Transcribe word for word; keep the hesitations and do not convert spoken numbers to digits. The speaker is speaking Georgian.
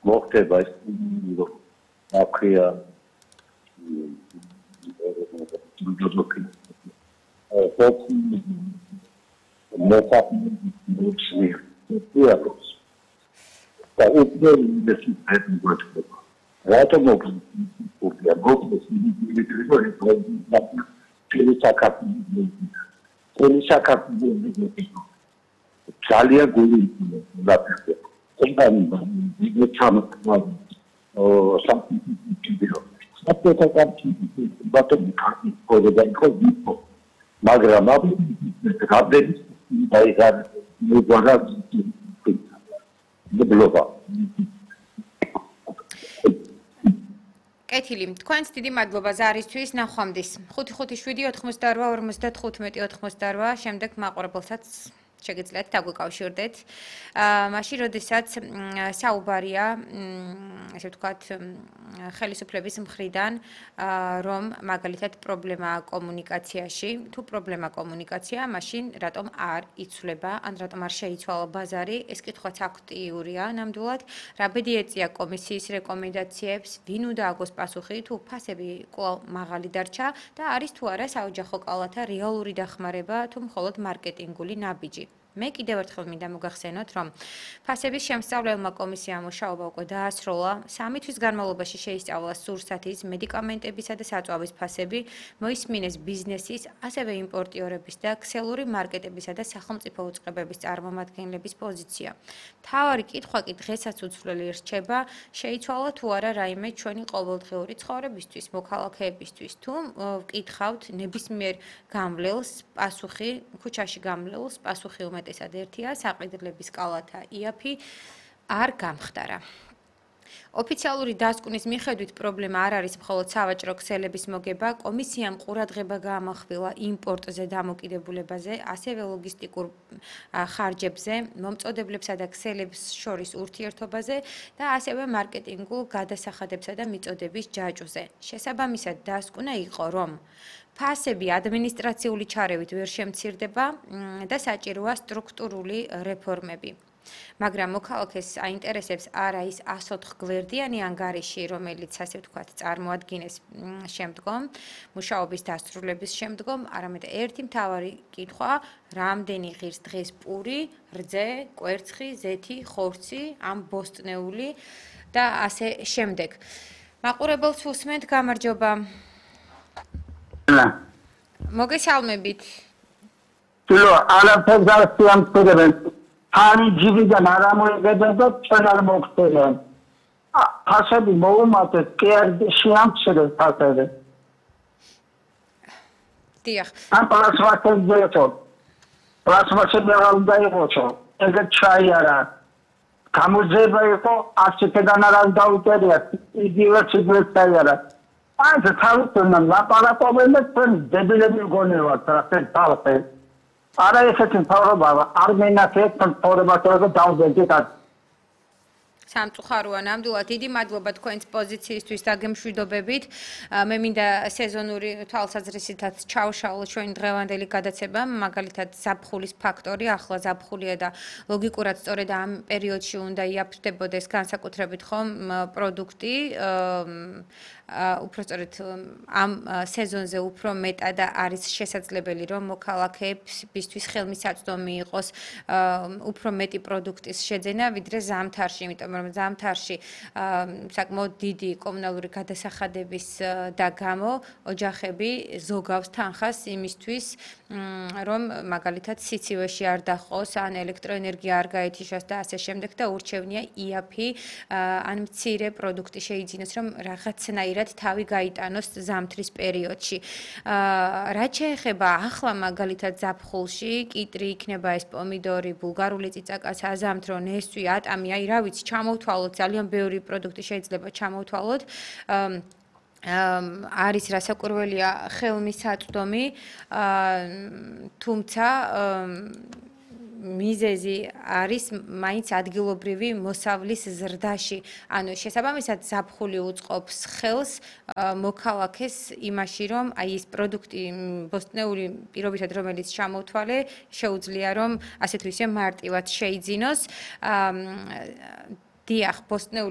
მოხდება ეს აფრია და უკვე ის հետո რატომ მოგწია მოგწეს ძალიან გული დაფიქრე კომპანია იგი ჩამოყვა სამფიციდიო საფეთო კარტი ბატონი კარტი კოდები ხო მაგრამ აბი გაბდები დაიღარ მოგარა დებლობა კეთილი, თქვენს დიდი მადლობა ზარისთვის, ნახვამდის. ხუთი ხუთი შვიდი ოთხმოცდაორვა ორმოცდათხუთმეტი ოთხმოცდაორვა, შემდეგ მაყურებელსაც შეგიძლიათ დაგვიკავშირდეთ. მაშინ, როდესაც საუბარია, ესე ვთქვათ, ხელისუფლების მხრიდან, რომ მაგალითად პრობლემაა კომუნიკაციაში, თუ პრობლემა კომუნიკაცია, მაშინ რატომ არ იცვლება, ან რატომ არ შეიცვალა ბაზარი, ეს კითხვაც აქტიურია ნამდვილად. რა ბედი ეწია კომისიის რეკომენდაციებს, ვინ უნდა აგოს პასუხი, თუ ფასები კვლავ მაღალი დარჩა და არის თუ არა საოჯახო კალათა რეალური დახმარება, თუ მხოლოდ მარკეტინგული ნაბიჯი. მე კიდევ ერთხელ მინდა მოგახსენოთ, რომ ფასების შემსწავლელმა კომისიამ მუშაობა უკვე დაასრულა. სამი თვის განმავლობაში შეისწავლა სურსათის, მედიკამენტებისა და საწვავის ფასები, მოისმინეს ბიზნესის, ასევე იმპორტიორების და ქსელური მარკეტებისა და სახელმწიფო უწყებების წარმომადგენლების პოზიცია. მთავარი კითხვა კი დღესაც უცვლელი რჩება, შეიცვალა თუ არა რაიმე ჩვენი ყოველდღიური ცხოვრებისთვის, მოქალაქეებისთვის, თუ ვკითხავთ ნებისმიერ გამლელს პასუხი, ქუჩაში გამლელს პასუხი უმეტესად ერთია, საყიდლების კალათა იაფი არ გამხდარა. ოფიციალური დასკვნის მიხედვით პრობლემა არ არის მხოლოდ სავაჭრო ქსელების მოგება, კომისიამ ყურადღება გაამახვილა იმპორტზე დამოკიდებულებაზე, ასევე ლოგისტიკურ ხარჯებზე, მომწოდებლებსა და ქსელებს შორის ურთიერთობაზე და ასევე მარკეტინგულ გადასახადებსა და მიწოდების ჯაჭვზე. შესაბამისად დასკვნა იყო, რომ ფასები ადმინისტრაციული ჩარევით ვერ შემცირდება და საჭიროა სტრუქტურული რეფორმები. მაგრამ მოქალაქეს აინტერესებს არა ის ასოთხ გვერდიანი ანგარიში, რომელიც ასე ვთქვათ წარმოადგინეს შემდგომ, მუშაობის დასრულების შემდგომ, არამედ ერთი მთავარი კითხვა, რამდენი ღირს დღეს პური, რძე, კვერცხი, ზეთი, ხორცი, ამ ბოსტნეული და ასე შემდეგ. მაყურებელს უსმენთ, გამარჯობა. მოგესალმებით. Tilo, არაფერს არ შეამცირებენ. Ani ჯიბიდან არ ამოიღებენ და ჩვენ არ მოგხსენებენ. ფასები მოუმატეთ, კი არ შეამცირებს ფასები. დიახ. ამ პლასმასებს ძეთო. პლასმასები არ უნდა იყოს. ეგეთ ჩაიარა. გამოძება იყო, ასეთიდან არ დაუტერია. იგივე ციგნებს ჩაიარა. Ai, se tahu tunan, laparapoven da tun debilemi goneva, trafen talpe. Ara esetin tawra baba, armena ketun tawra baba download kat. სამწუხაროა ნამდვილად დიდი მადლობა თქვენს პოზიციისთვის და გემშვიდობებით. მე მინდა სეზონური თვალსაზრისითაც ჩავშალო ჩვენი დღევანდელი გადაცემა, მაგალითად ზაფხულის ფაქტორი, ახლა ზაფხულია და ლოგიკურად სწორედ ამ პერიოდში უნდა იაფრდებოდეს განსაკუთრებით ხომ პროდუქტი, უფრო სწორედ ამ სეზონზე უფრო მეტად არის შესაძლებელი რომ მოქალაქეებისთვის ხელმისაწვდომი იყოს უფრო მეტი პროდუქტის შეძენა ვიდრე ზამთარში, იმიტომ რომ ზამთარში საკმაოდ დიდი კომუნალური გადასახადების და გამო ოჯახები ზოგავს თანხას იმისთვის რომ მაგალითად სიცივეში არ დაჰყოს ან ელექტროენერგია არ გაეთიშოს და ასე შემდეგ და ურჩევნია იაფი ან მცირე პროდუქტი შეიძინოს რომ რაღაცნაირად თავი გაიტანოს ზამთრის პერიოდში. რაც შეეხება ახლა მაგალითად ზაფხულში, კიტრი იქნება ეს პომიდორი, ბულგარული წიწაკა, საზამთრო, ნესვი, ატამი, აი რა ვიცი, ჩამოვთვალოთ, ძალიან ბევრი პროდუქტი შეიძლება ჩამოვთვალოთ. არის რასაკვირველია ხელმისაწვდომი, თუმცა მიზეზი არის მაინც ადგილობრივი მოსავლის ზრდაში. ანუ შესაბამისად ზაფხული უწყობს ხელს მოქალაქეს იმაში, რომ აი ეს პროდუქტი ბოსტნეული პირობითად რომელიც ჩამოვთვალე, შეუძლია რომ ასე თუ ისე მარტივად შეიძინოს. დიახ, ბოსტნეული